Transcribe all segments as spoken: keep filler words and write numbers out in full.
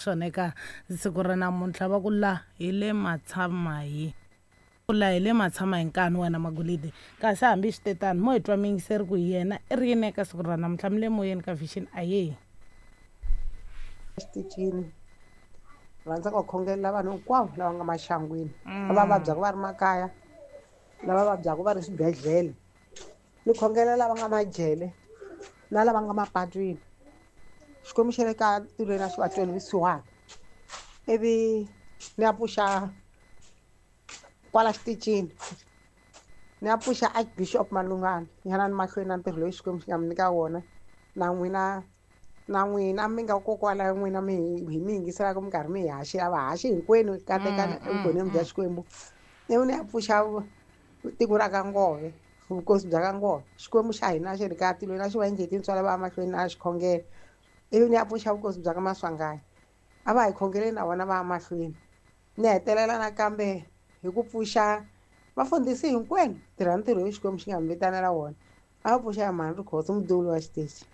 Swona eka siku ra namuntlha va ku la hi le matshama hi ku la hi le matshama hi nkani wena Magolidi. Kasi hambi swi te tano mo hi twa miyingiseri ku yena i ri yini eka siku ra namuntlha. Mi le moyeni ka Vision, ahee. Exitichini rhandza ku khongelela vanhu hinkwavo lava nga maxangwini, lava vabyaka va ri makaya, lava vabyaka va ri swibedhlele, ni khongelela lava nga majele na lava nga mapatwini. Xikwembu xa le ka tilweni a xi va tweli vusiwana. Ivi ni ya pfuxa kwala xitichini, ni ya pfuxa Archbishop Malungana, yanani mahlweni na ntirho lowu Xikwembu xi nga mi nyika wona. Na n'wina, na n'wina mi nga kokwala n'wina mi hi mi yingiselaka mi karhi mi hi haxela, vahaxi hinkwenu katekani evugoneni bya Xikwembu. Ivi ni ya pfuxa tiko ra ka Ngove, vukosi bya ka Ngove. Xikwembu xa hina xi ri ka tilweni a xi va endli tintswalo va mahlweni na xikhongelo. Ivi ni ya pfuxa vukosi bya ka Maswanganyi, a va hi khongeleni na vona va ya mahlweni. Ni hetelela nakambe hi ku pfuxa vafundhisi hinkwenu, tirha ntirho lowu Xikwembu xi nga mi vitanela wona. A va pfuxa ya mhani Rikhotso, muduli wa xitichi.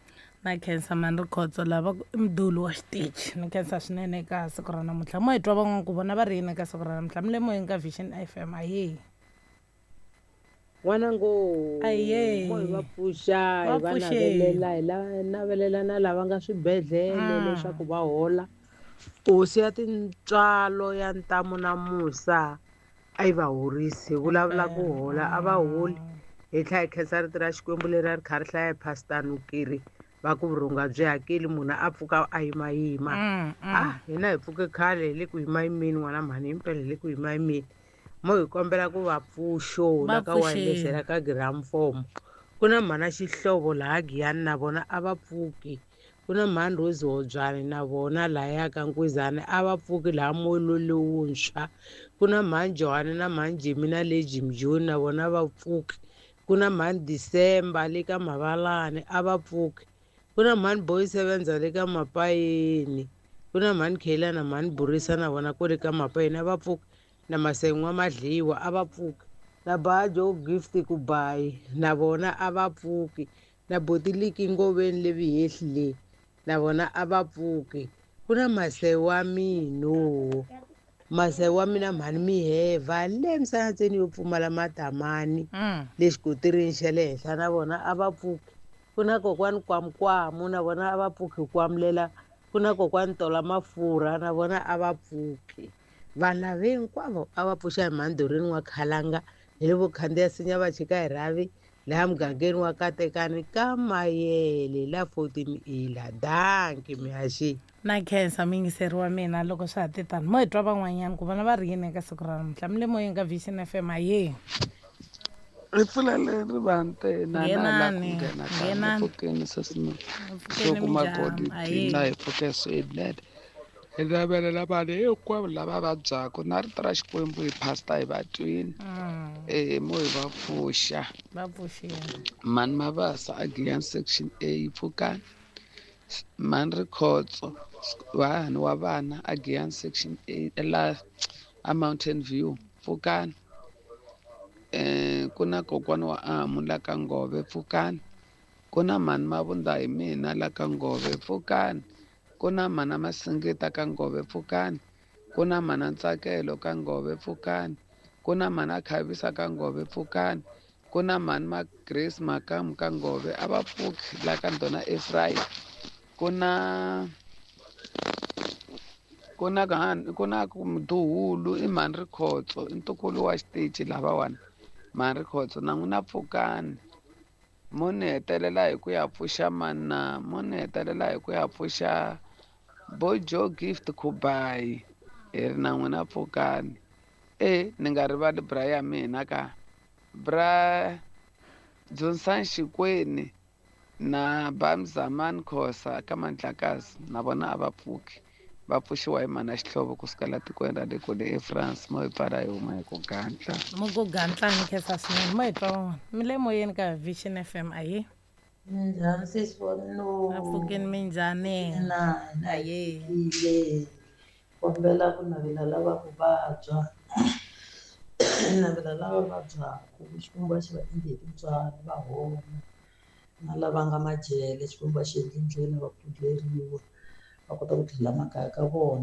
Na khensa mhani Rikhotso, lava ku i muduli wa xitichi. Ni khensa swinene eka siku ra namuntlha. Mo hi twa van'wana ku vona va ri yini eka siku ra namuntlha. Mi le moyeni ka Vision F M, ahee. N'wana ngo, Ahee. mo hi va pfuxa, hi Va va pfuxeni. navelela, hi la navelela na lava nga swibedhlele Mm. leswaku va hola. Hosi ya tintswalo ya ntamu na musa a yi va horisi. Hi vulavula ku hola, a va holi. Hi tlhela hi khensa rito ra Xikwembu leri a ri kha ri hlaya hi Pastor Nukiri, va ku vurhonga byi hakeli, munhu a pfuka a yimayima. Mm, mm. Ah, hina hi pfuke khale hi le ku yimayimeni, n'wana mhani, himpela hi le ku yimayimeni. Mo hi kombela ku va pfuxo Va la ka wireless pfuxeni. la ka gramofomo. Ku na mhana Xihlovo laha Giyani na vona a va pfuki. Ku na mhani Rose Hobyane na vona lahaya ka Nkwizana a va pfuki laha moya lowuntshwa. Ku na mhani Johani na mhani Jimmy na le Jim Joni na vona va pfuki. Ku na mhani December le ka Mavalani a va pfuki. Ku na mhani Boy Sevenza le ka Mapayeni. Ku na mhani Khela na mhani Burisa na vona kwale ka Mapayeni a va pfuki. Na Masen'wa Madliwa a va pfuki. Na Bajo Gift Kubayi na vona a va pfuki. Na Botiliki Ngoveni le Vihehli le na vona a va pfuki. Ku na Masewa Mino, Masewa mina mhani Miheva le Msanatseni yo pfumala matamani Mm. le xikotirini xa le henhla na vona a va pfuki. Ku na kokwani Kwamukwamu na vona a va pfuki kwamulela. Ku na kokwani Tola Mafurha na vona a va pfuki. Vanhu lava hinkwavo a va pfuxa hi mhandhurini wa Khalanga, hi le vokhandziya sinya va chika hi rhavi laha mugangeni wa Katekani ka Mayele la fourteen A la. Dankie mihaxi. Na khensa muyingiseri wa mina loko swa ha te tano. Mo hi twa van'wanyana ku vona va ri yini eka siku ra namuntlha. Mi le moyeni ka Vision F M, ahee. Ri pfulele rivante na na la ku Nghenani, nghena ka nghenani. pfukeni sesino. Pfukeni Soko minjhani, Magodi, ahee. na hi pfuke swinene. Hi navelela vanhu hinkwavo lava vabyaka na rito ra Xikwembu hi pastor hi va twini. Mm. Eh, mo hi va pfuxa. Va pfuxile. Mhani Mabasa a Giyani section A pfukani. Mhani Rikhotso vahani wa vana a Giyani section A la a Mountain View pfukani. Eh, ku na kokwana wa Amu la ka Ngove pfukani. Ku na mhani Mavunda hi mina la ka Ngove pfukani. Ku na mhana Masingita ka Ngove pfukani. Ku na mhana Ntsakelo ka Ngove pfukani. Ku na mhana Khavisa ka Ngove pfukani. Ku na mhani Ma Grace Makamu ka Ngove a va pfuki la ka Ndona Ephraim. Ku na ku na ka ku na ku Mduhulu i mhani Rikhotso i ntukulu wa xitichi lavawani. Mhani Rikhotso na n'wina pfukani. Mo ni hetelela hi ku ya pfuxa mana, mo ni hetelela hi ku ya pfuxa Bojo Gift Kubayi. Hi ri na n'wina pfukani. E ni nga rivali bra ya mina ka bra Johnson Xikweni na Bamzaman Khosa ka Mandlakazi na vona a va pfuki. Va pfuxiwa hi mhana Xihlovo kusuka la tikweni ra le kule eFrance. Mo hi pfala hi huma hi ku gantla. Mo ku gantla ni khensa swinene. Mo hi twa van'wana. Mi le moyeni ka Vision F M, ahee. Minjhani sesi wa mina? A pfukeni minjhani? Na, na Ahee. pfukile. Kombela ku navela lava ku vabya. Navela lava vabyaka ku Xikwembu a xi va endli hi tintswalo va hola. Na lava nga majele Xikwembu a xi endli ndlela va pfuleriwa va kota ku tlhela makaya ka vona.